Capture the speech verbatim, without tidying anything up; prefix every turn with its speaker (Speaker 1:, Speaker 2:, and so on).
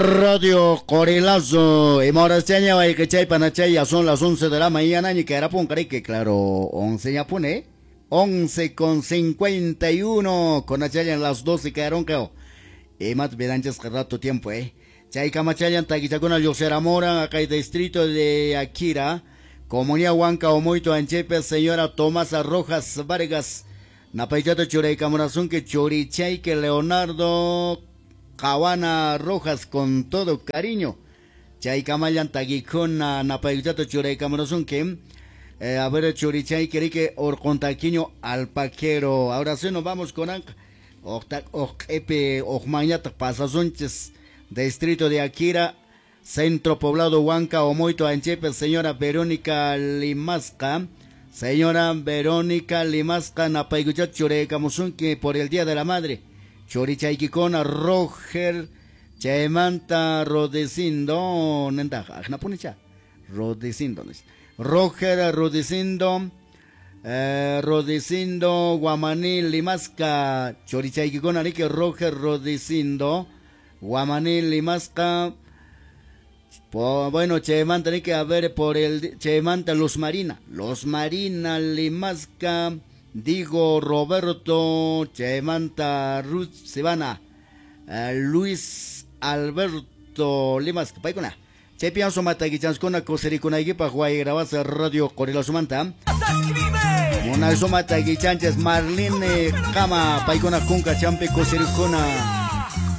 Speaker 1: Radio Corilazo. Y morasteña chay panachay, ya son las once de la mañana, ni que era que claro, once ya pone, once con cincuenta y uno, con achaya en las doce quedaron creo. Y más vedanchas que rato tiempo, eh. Chay camachayan taquichacuna Yoxeramora, acá el distrito de Akira, Comunidad Huanca Omoito Anchepe, señora Tomasa Rojas Vargas, Napaichato Churey Camorazón, que Chorichay, que Leonardo Caguana Rojas con todo cariño. Chay Camayan Taguicona, Napaichato Churey Camorazón, que eh, a ver Chorichay, que Orcontaquiño Alpaquero. Ahora sí nos vamos con Ojepe, Ojmañata, Pasazunches, distrito de Akira, Centro Poblado Huanca, Omoito Anchepe, señora Verónica Limasca. Señora Verónica Limasca, Napayguchat Churecamusunki por el Día de la Madre. Chorichayquicona, Roger, Chaymanta, Rodecindo, Nenda, Ajnapunicha, Rodecindo, Roger, Rodecindo, eh, Rodecindo, Guamaní, Limasca, Chorichayquicona, Rique, Roger, Rodecindo, Guamaní, Limasca. Po, bueno, Chaymanta, que a ver por el Chaymanta, Los Marina, Los Marina, Limasca, Digo, Roberto, Chaymanta, Ruth, Sivana, eh, Luis Alberto Limasca, Paicona, Chepian Somata, Guichanscona, Cosericona, Equipa, Guay, Grabase, Radio Corela Sumanta, Mona Somata, Guichanches, Marlene, Cama, Paicona, Cunca, Champe, Cosericona.